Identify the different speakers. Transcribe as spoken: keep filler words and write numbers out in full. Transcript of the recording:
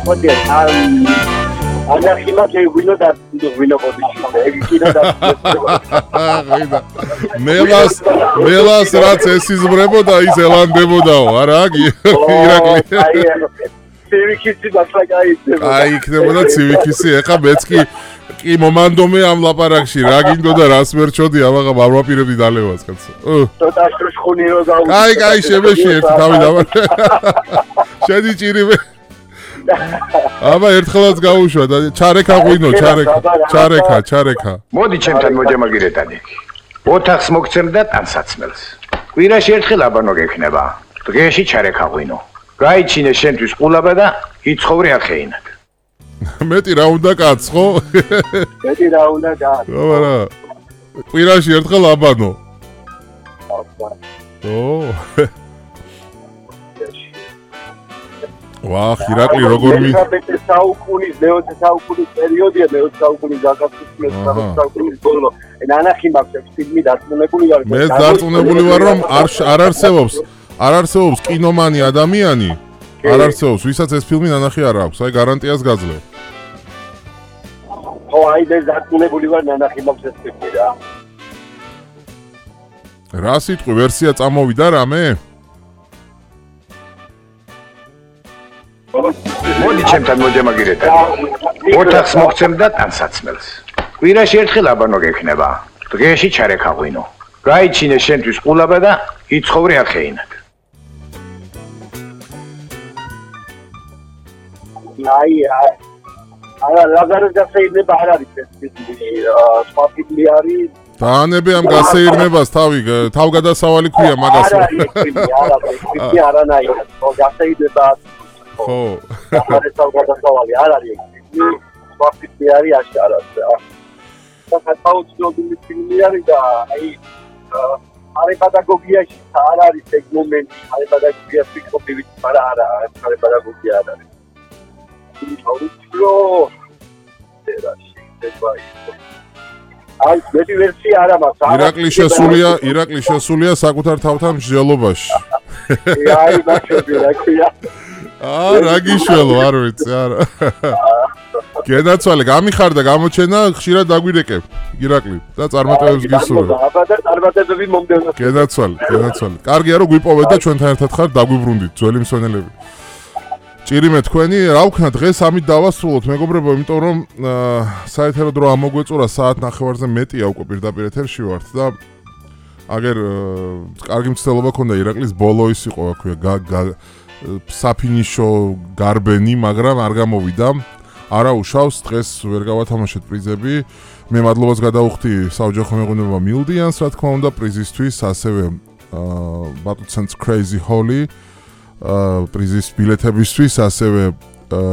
Speaker 1: ხოთია ანახიმათ ეგვინო და ვინო პოზიცია ეგი კიდე და
Speaker 2: აიდა მელას მელას რაც ესიზმრებოდა ის ელანდებოდაო არა ირაკლი
Speaker 1: აი ცივიქისი ბასაკაიცება
Speaker 2: აი იქნებოდა ცივიქისი ეხა მეც კი კი მომანდომე ამ ლაპარაკში რა გინდო და რას მერჩოდი ამაღა მარმაპირებდი დალევას კაცო
Speaker 1: ცოტა შხუნი რო გაუ
Speaker 2: აი აი შემეში ერთი თავი დავა შედი ჭირიმე აბა ერთხელაც გაუშვა და ჩარეკა ღვინო ჩარეკა ჩარეკა ჩარეკა
Speaker 3: მოდი ჩემთან მოჯამაგირეთანი ოთახს მოგცემ და ტანსაცმელს კვირაში ერთხელ აბანო გექნება დღეში ჩარეკა ღვინო გაიჩინე შენთვის ყულაბა და იცხოვრე ახეინად
Speaker 2: მეტი რა უნდა კაც ხო
Speaker 1: მეტი რა უნდა კაც
Speaker 2: აბა კვირაში ერთხელ აბანო ო ვახ ირაკლი როგორ მი
Speaker 1: მეოცე საუკუნის მეოცე საუკუნის პერიოდია მეოცე საუკუნის გაგაცნობის მეოცე საუკუნის ბოლო ნანახი მაქვს ფილმი დარწმუნებული ვარ
Speaker 2: მე დარწმუნებული ვარ რომ არ არ არსებობს არ არსებობს კინომანი ადამიანი არ არსებობს ვისაც ეს ფილმი ნანახი არ აქვს აი გარანტიას გაძლევ
Speaker 1: ხო აი მე დარწმუნებული ვარ ნანახი მაქვს ეს ფილმი რა
Speaker 2: რა სიტყვი ვერსია წამოვიდა რამე
Speaker 3: მოდი ჩემთან მოჯამაგირეთანი ოთახს მოგცემ და ტანსაცმელს კვირაში ერთხელ აბანო გექნება დღეში ჩარეკა ღვინო გაიჩინე შენთვის ყულაბა და იცხოვრე ახეინად
Speaker 1: აი არა ლაგარეს გასეირნება არ არის ეს ფილმი სხვა ფილმი არის
Speaker 2: დაანებე ამ გასეირნებას თავი თავგადასავალი ქვია მაგას
Speaker 1: არა ეს ფილმი არა ეს ფილმი არანაირად ხო გასეირნება
Speaker 2: ხო
Speaker 1: არა თავგადასავალი არ არის ეს ფილმი სხვა ფილმი არის აშკარად რა და საერთოდ ფილმი არის და აი არა პედაგოგიაში არ არის ეგ მომენტი არა პედაგოგიაში ფიქრობივით არა არა არა პედაგოგია არ არის აი მეტი ვერსია არა მაქვს
Speaker 2: ირაკლი შესულია ირაკლი შესულია საკუთარ თავთან მსჯელობაში
Speaker 1: აი ბაშები რა ქვია
Speaker 2: აა რა გიშველო არ ვიცი არა გენაცვალე გამიხარდა გამოჩენა ხშირად დაგვირეკებ ირაკლი და წარმატებებს გისურვებ
Speaker 1: აბა და წარმატებები მომდევნო
Speaker 2: გენაცვალე გენაცვალე კარგია რომ გვიპოვეთ და ჩვენთან ერთად ხარ დაგვიბრუნდით ძველი მსვენელები ჭირიმე თქვენი რა ვქნა დღეს ამით დავასრულოთ მეგობრებო იმიტომ რომ საერთოდ რო ამოგვეწურა საათ ნახევარზე მეტია უკვე პირდაპირ ეთერში ვართ და აგერ კარგი მცდელობა ქონდა ირაკლის ბოლო ის იყო რა ქვია საფინიშო გარბენი მაგრამ არ გამოვიდა არა უშავს დღეს ვერ გავათამაშეთ პრიზები მე მადლობას გადავუხდი საოჯახო მეღვინეობა მილდიანს რა თქმა უნდა პრიზისთვის ასევე ბატუცენს Crazy Holly პრიზის ბილეთებისთვის ასევე